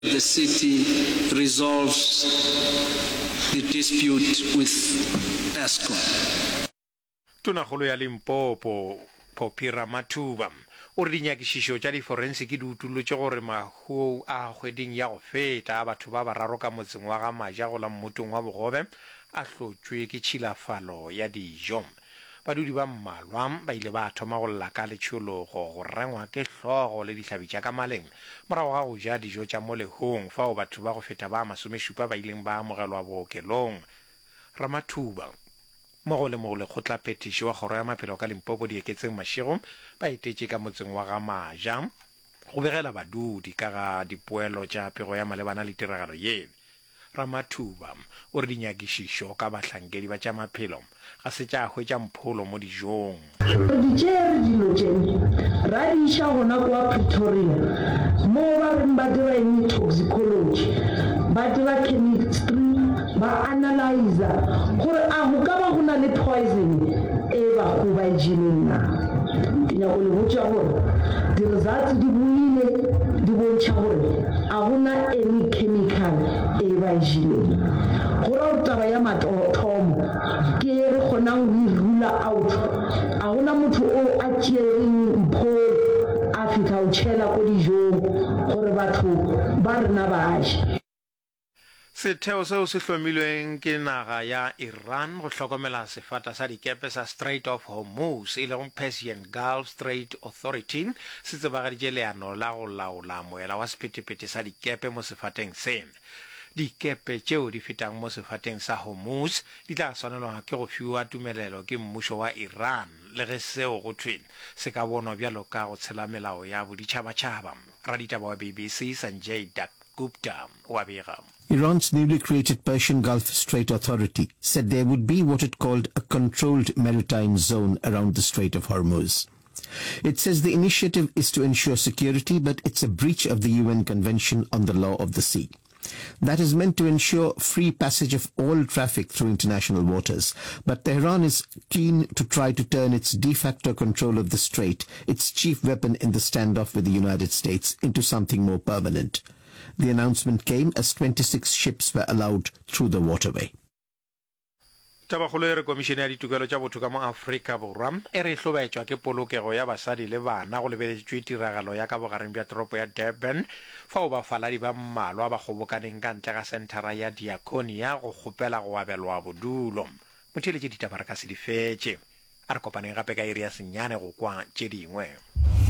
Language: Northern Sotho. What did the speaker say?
The city resolves the dispute with Eskom. Tonakgolo ya Limpopo, Phophi Ramathuba, o re dinyakišišo tša diforensiki di utollotše gore mahu a kgweding ya go feta a batho ba bararo ka motseng wa ga Maja go la mmotong wa Bogobe a hlotšwe ke tšhilafalo ya dijo. Badudi ba mmalwa ba ile ba thoma go lla ka letšhologo, go rengwa ke hlogo le dihlabi tša ka maleng morago ga go ja dijo tša mo lehong fao batho ba go feta ba masomešupa ba ileng ba amogelwa bookelong. Ramathuba, mmogo le molekgotlaphethiši wa Kgoro ya Maphelo ka Limpopo Dieketseng Mashego ba etetše ka motseng wa ga Maja go begela badudi ka ga dipoelo tša pego ya malebana le tiragalo ye. Ramathuba o re dinyakišišo ka bahlankedi ba tša maphelo ga se tša hwetša mpholo mo dijong. Re di tšere dilo tše, ra di iša gona kwa Pretoria, moo ba reng ba dira eng, toxicology, ba dira chemistry, ba analyser gore a go ka ba go na le poison e bago ba e jeleng na. Ke nyako le botša gore di-results di boile di bontšha gore A go na any chemical e ba e jeleng. Go ra gore taba ya mathomo ke ye re kgonang go e rula out. A go na motho o a tšereng mpholo a fihla o tšhela ko dijong gore batho ba rena ba je. Setheo seo se hlomilweng ke naga ya Iran go hlokomela sefata sa dikepe sa Strait of Hormuz, e lego Persian Gulf Strait Authority, se tsebagaditše leano la go laola moela wa sephethephethe sa dikepe mo sefateng se. Dikepe tšeo di fetang mo sefateng sa Hormuz di tla swanelwa ke go fiwa tumelelo ke mmušo wa Iran, le ge seo go thwe se ka bonwa bjalo ka go tshela melao ya boditšhabatšhaba. Raditaba wa BBC Sanjay Dutt Gupta o a bega. Iran's newly created Persian Gulf Strait Authority said there would be what it called a controlled maritime zone around the Strait of Hormuz. It says the initiative is to ensure security, but it's a breach of the UN Convention on the Law of the Sea. That is meant to ensure free passage of all traffic through international waters. But Tehran is keen to try to turn its de facto control of the strait, its chief weapon in the standoff with the United States, into something more permanent. The announcement came as 26 ships were allowed through the waterway. Tabakgolo e re Komišene ya Ditokelo tša Botho ka mo Afrika Borwa e re e hlobaetšwa ke polokego ya basadi le bana go lebeletšwe tiragalo ya ka bogareng bja toropo ya Durban fao bafaladi ba mmalwa ba kgobokaneng ka ntle ga senthara ya Diakonia go kgopela go abelwa bodulo. Motheeletši ditaba re ka se di fetše. A re kopaneng gape ka iri ya senyane go kwa tše dingwe.